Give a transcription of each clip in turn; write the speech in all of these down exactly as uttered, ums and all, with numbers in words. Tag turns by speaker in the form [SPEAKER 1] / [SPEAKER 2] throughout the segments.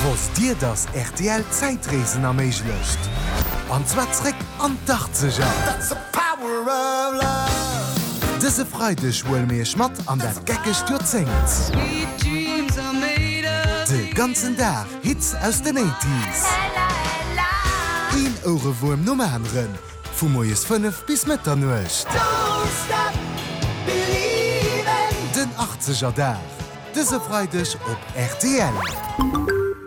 [SPEAKER 1] Wosst Dir, dass rtl Zäitreesen erméiglecht? An zwar zréck an d'Achtzeger! Dëse Freideg huele mir iech mat an dat geckegt Joerzéngt. De ganzen Dag Hits aus den Eighties. Een Ouerewuerm nom aneren, vu moies fënnef bis Mëtternuecht. Den Achtzeger Dag, dëse Freideg op rtl.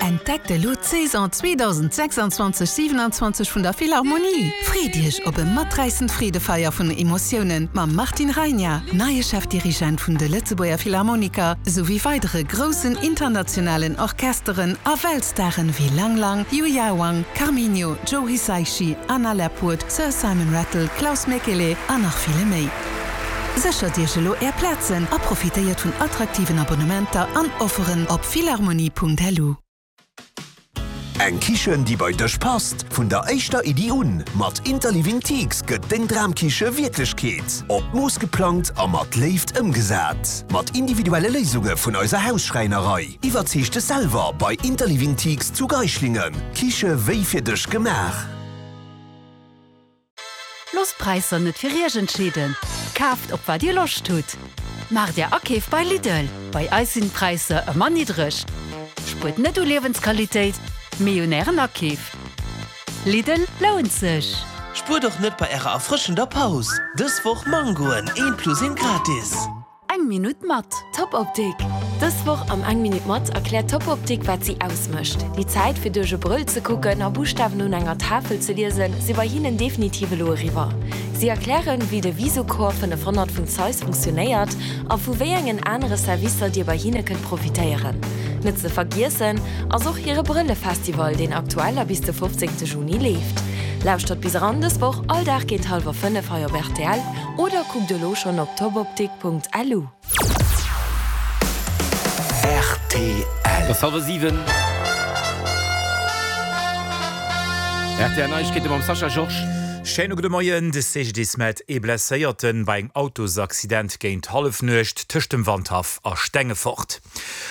[SPEAKER 2] Entdeckt elo d'Saison zweedausendsechsundzwanzeg siewenundzwanzeg vun der Philharmonie! Freet Iech op e maträissend Freedefeier vun Emotiounen mam Martin Rajna, neie Chefdirigent vun de Lëtzebuerger Philharmoniker, souwéi weidere groussen internationalen Orchesteren a Weltstaren wéi Lang Lang, Yuya Wang, Carminho, Joe Hisaishi, Anna Lapwood, Sir Simon Rattle, Klaus Mäkelä an nach ville méi. Séchert Iech elo Är Plazen a profitéiert vun attraktiven Abonnementer an Offeren op philharmonie Punkt L U.
[SPEAKER 3] Eng Kichen, déi bei dech passt, vun der éischter Iddi un. Mat Interliving Teaks gëtt deng Dramkiche Wierklechkeet. Op Mooss geplangt a mat Léift ëmgesat. Mat individuelle Léisunge vun eiser Hausschräinerei. Iwwerzeeg dech selwer bei Interliving Teaks zu Geislingen. Kiche wéi fir dech gemaach.
[SPEAKER 4] Loosst d'Präisser net fir iech entscheeden. Kaaft op wat dir Loscht hutt. Maacht är Akeef bei Lidl. Bei eis sinn d'Präisser ëmmer niddreg. Spuert net u Liewensqualitéit, mee un ären Akeef. Lidl lount sech.
[SPEAKER 5] Spuert och net bei ärer erfrëschender Paus. Dës Woch Mangoen, een plus een gratis.
[SPEAKER 4] Eng Minutt mat
[SPEAKER 6] Top Optik. Dës Woch am Eng Minutt mat erkläert Top Optik wat si ausmécht. Déi Zäit fir duerch e Brëll ze kucken a Buschtawen un enger Tafel ze liesen, si bei hinnen definitiv elo eriwwer. Si erklären, wéi de Visocor fënnefhonnert vun Zeiss funktionéiert a vu wéi engen anere Servicer dir bei hinne kënnt profitéieren. Net ze vergiessen ass och hire Brëllefestival, deen aktuell a bis de fofzéngte Juni leeft. Lauschtert bis eran dës Woch all Dag géint hallwer fënnef hei op R T L oder kuckt elo schonn op topoptik Punkt L U.
[SPEAKER 3] R T L.
[SPEAKER 7] Et ass hallwer siwen. R T L Neiegkeete mam Sascha Georges.
[SPEAKER 8] Schéine gudde Moien. De C G D I S mellt ee Blesséierten bei engem Autosaccident géint Hallefnuecht tëscht dem Wandhaff a Stengefort.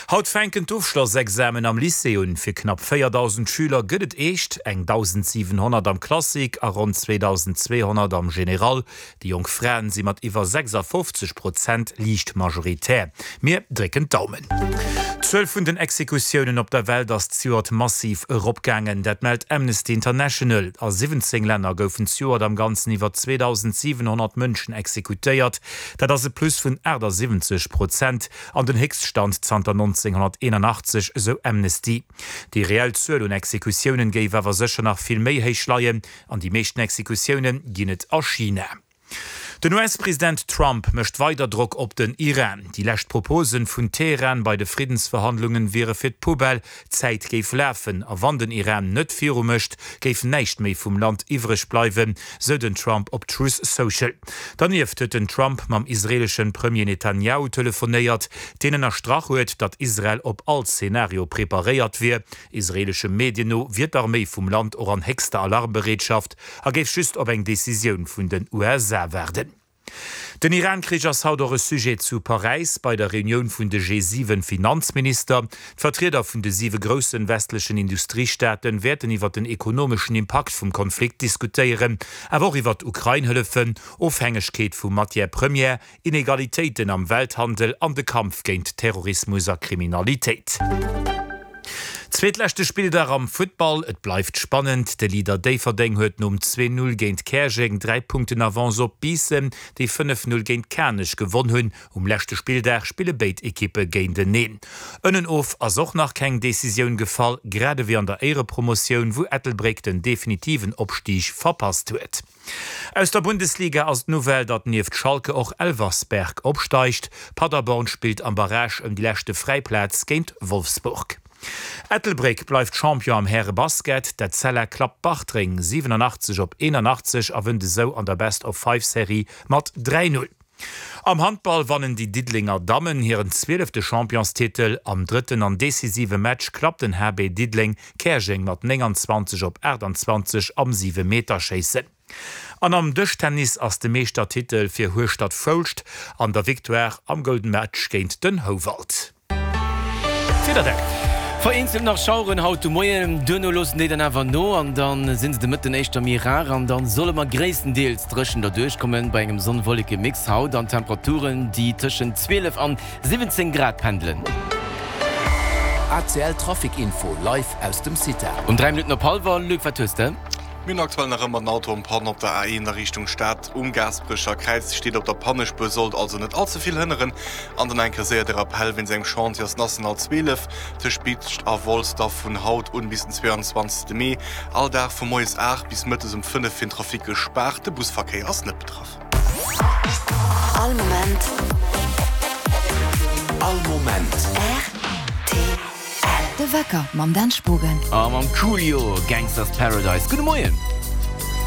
[SPEAKER 8] Haut fänken d'Ofschlossexamen am Lycée un. Fir knapp véierdausend Schüler gëtt et eescht, eng dausendsiwenhonnert am Classique a ronn zweedausendzweehonnert am Général. Déi jonk Fraen si mat iwwer sechsafofzeg Prozent liicht majoritär. Mir drécken d'Daumen. D'Zuel vun den Exekutiounen op der Welt ass zejoert massiv eropgaangen, dat mellt Amnesty International. A siwwenzéng Länner goufen zejoert am Ganzen iwwer zweedausensiwenhonnert Mënschen exekutéiert. Dat ass e Plus vun aachtasiwwenzeg Prozent an den Héchststand zanter nonzénghonnerteenanachtzeg, esou Amnesty. Déi reell Zuel un Exekutiounen géif awer sécher nach vill méi héich leien an déi meeschten Exekutioune ginn et a China. Den U S-President Trump mécht weider Drock op den Iran. Déi lescht Proposen vun Teheran bei de Friddensverhandlungen wiere fir d'Poubelle, d'Zäit géif lafen a wann den Iran net viru mécht, géif näischt méi vum Land iwwreg bleiwen, sou den Trump op Truth Social. Dernieft huet den Trump mam israeelesche Premier Netanjahu telefonéiert, deen ënnerstrach huet, datt Israel op all Zenario preparéiert wier. Israeelesche Medien no wier d'Arméi vum Land och an héchster Alarmbereetschaft a géif just op eng Decisioun vun den U S A waarden. Den Iran-Krich ass haut och e Sujet zu Paräis bei der Reunioun vun de G siwen Finanzminister. D'Vertrieder vun de siwe grousse westlechen Industriestaate wäerten iwwer den ekonomeschen Impakt vum Konflikt diskutéieren, awer och iwwer d'Ukrain-Hëllefen, Ofhängegkeet vu Matières premières, Inegalitéiten am Welthandel an de Kampf géint Terrorismus a Kriminalitéit. Zweetleschte Spilldag am Futtball, et bleift spannend. De Leader Déifferdeng huet nom zwee Null géint Käerjeng dräi Punkten Avance op Biissen, déi fënnef Null géint Kanech gewonn hunn. Um leschte Spilldag spille béid Ekippe géinteneen. Ënnen of ass och nach keng Decisioun gefall, grad ewéi an der Éierepromotioun, wou Ettelbréck den definitiven Opstig verpasst huet. Aus der Bundesliga ass d'Nouvelle, datt nieft Schalke och Elversberg opsteigt. Paderborn spillt am Barrage ëm déi leschte fräi Plaz géint Wolfsburg. Ettelbréck bleift Champion am Härebasket. D'Etzella klappt Bartreng siwenanachtzeg op eenanachtzeg a wënnt esou an der Best-of-Five-Serie mat dräi Null. Am Handball wannen déi Diddelenger Dammen hiren zwielefte Championstitel. Am drëtten an decisive Match klappt den H B Diddeleng Käerjeng mat nénganzwanzeg op aachtanzwanzeg am Siwemeterschéissen. An am Dëschtennis ass de Meeschtertitel fir Hueschtert-Foulscht an der Victoire am Golden Match géint den Houwald. D'Wiederdeck.
[SPEAKER 7] Vereenzelt nach Schaueren haut de Moien, duerno loossen déi dann awer no an dann sinn se de Mëtten éischter méi rar an dann solle mer gréisstendeels dréchen derduerch kommen bei engem Sonn-Wolleke-Mix haut an Temperaturen déi tëschent zwielef an siwwenzéng Grad pendelen.
[SPEAKER 9] A C L Trafic Info live aus dem CITA.
[SPEAKER 7] Um dräi Minutten op hallwer, Luc, wat hues de?
[SPEAKER 10] Mir hunn aktuell nach ëmmer den Auto en Panne op der A een a Richtung Stad um Gaasperecher Kräiz. Steet op der Pannespuer, sollt also net all ze vill hënneren. An dann eng Kéier séier de Rappell, Wéinst engem Chantier ass d'National zwielef tëscht Biicht a Wolz da vun haut un bis den zweeanzwanzegste Mee all Dag vu moies aacht bis mëttes um fënnef fir den Trafic gespaart. De Busverkéier ass net betraff.
[SPEAKER 11] All Moment.
[SPEAKER 9] All Moment.
[SPEAKER 11] R T L. De Wecker mam Dan Spogen.
[SPEAKER 7] A mam Coolio, Gangsta's Paradise. Gudde Moien.